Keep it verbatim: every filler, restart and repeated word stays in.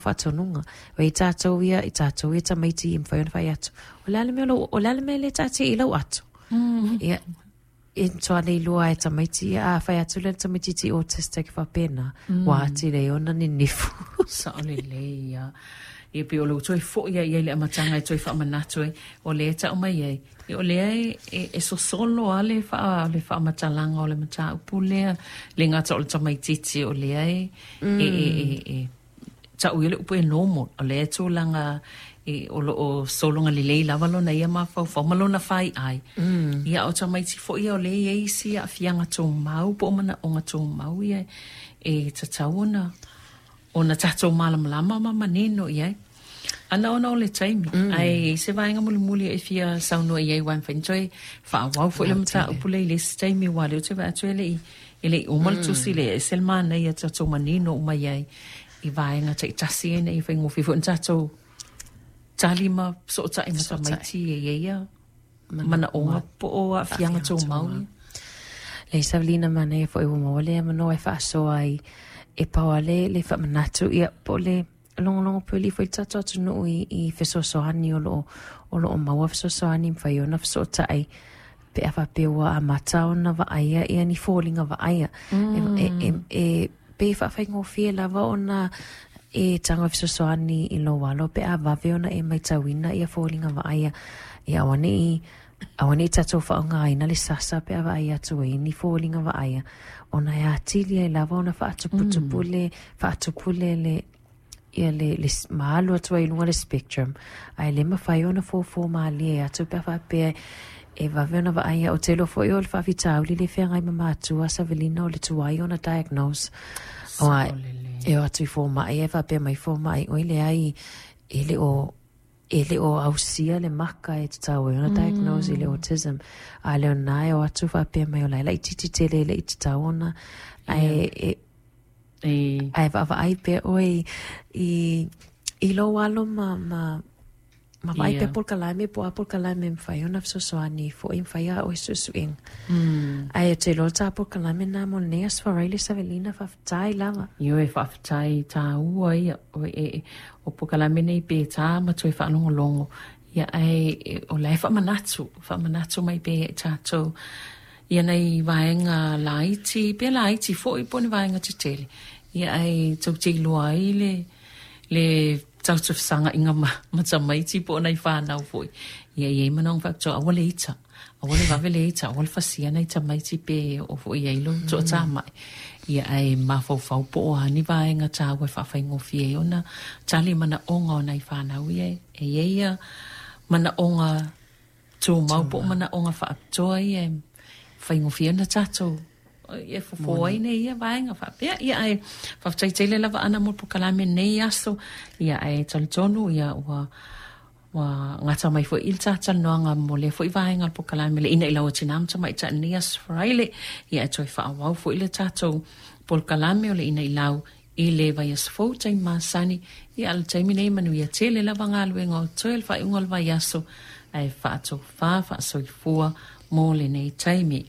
Faatonuga ua i tatou ia i tatou ia tamaiti e mafai ona fai atu o le a le mea o le a le mea lea taatia i lau ato. Ia e matua le iloa e tamaiti ia a fai atu le tamaitiiti autistic faapena ua atili ai ona ninifu. Sao lelei ia. Ia pei o lou toe foi ia i le amataga e toe faamanatu ai, o lea e tau mai ai, ia o lea e, e, e sosolo a le, faa, le faamatalaga o le mataupu lea, le gata o le tamaitiiti o lea e, mm. e, e, e, e tau ia le upu e normal, o lea e tulaga e, o lo o sologa lelei lava lona ia mafaufau ma lona fai ai. Mm. Ia o tamaiti foi ia o lea e i ai isi aafiaga tumau po o manaoga tumau ia e tatau ona ona tatou malamalama ma manino i ai. Ana ona o le taimi, mm. ae se vaega mulimuli e fia saunoa i ai ua mafai ona toe faaauau foi le mataupu lea i le isi taimi aua o lea ou te vaai atu e le i e le i uma le tusi lea, e ese le manaia tatou manino uma i ai i vaega taitasi ina ia faigofie foi ona tatou tali ma fesootai ma tamaiti e i ai ia manaoga po o aafiaga tumau ia. Leai Savelina manaia foi ua maua le avanoa e faasoa ai e pau lava le le faamanatu ia po o le logologo puli foi le tatou atunuu i, i fesoasoani o loo o loo maua fesoasoani mafai ona fesootai pe a faapea ua amata ona vaaia ia ni foliga vaaia mm. e, e, e, pei e faafaigofie lava ona e tago e fesoasoani i lou alo pe a vave ona e matauina ia foliga vaaia ia auaneʻi auaneʻi tatou faaaogaina le sasa pe a vaai atu ai ni foliga vaaia ona e atili ai lava ona faatuputupu le faatupu le le ia le, le ma alu atu ai i luga le spectrum ae le mafai ona fofo malie atu pe a faapea e vave ona vaaia. Ou te iloa foi o le faafitauli le feagai ma matua Savelina o le tuai ona diagnose aua e o atu i fomai e faapea mai fomai oi leai e le o e le o ausia le maka e tatau ai ona diagnose i le autism a le ona e o atu faapea mai o la e laitiiti tele e le i tatau ona ae e ae vaavaai pea ʻoe i i lou alo ma ma ma vaai pea polokalame po o a polokalame e mafai ona fesoasoani foi ma fai a ʻoe suesuega. Ae ou te iloa o le ta polokalame lena mo lenei Aso Faraile Savelina, faafetai lava. Ioe, faafetai taua ia o e o polokalame nei pe tā ma toe faalogologo ia ae o la e faamanatu, faamanatu mai pea ia i tatou ia nai vaega laiti, pe laiti foi po o ni vaega tetele, ia ae tou te iloa ai le le tatou fesagaiga ma, ma tamaiti po o nai fanau foi. Ia e i ai manaoga faapitoa, aua le ita, aua le vave le ita, aua le fasia nai tamaiti pe oo foi i ai lou toatamai. Ia ae mafaufau po o a ni vaega taua e faafaigofie ai ona tali manaoga o nai fanau ia e i ai ia manaoga tumau po o manaoga faapitoa ia e faigofie ona tatou e fofo ai nei ia vaega faapea. Ia ae faafetai tele lava Ana mo le polokalame i lenei aso. Ia ae talitonu ia ua ua gata mai foi i le talatalanoaga mo lea foi vaega o le polokalame le ina i lau tina ma tamaitai i lenei Aso Faraile. Ia ae toe faaauau foi le tatou polokalame o le ina i lau i le vaiaso fou taimi masani. Ia a o le taimi nei manuia tele lava galuega o totoe le faaiuga o le vaiaso ae faatofā faasoifua mo lenei taimi.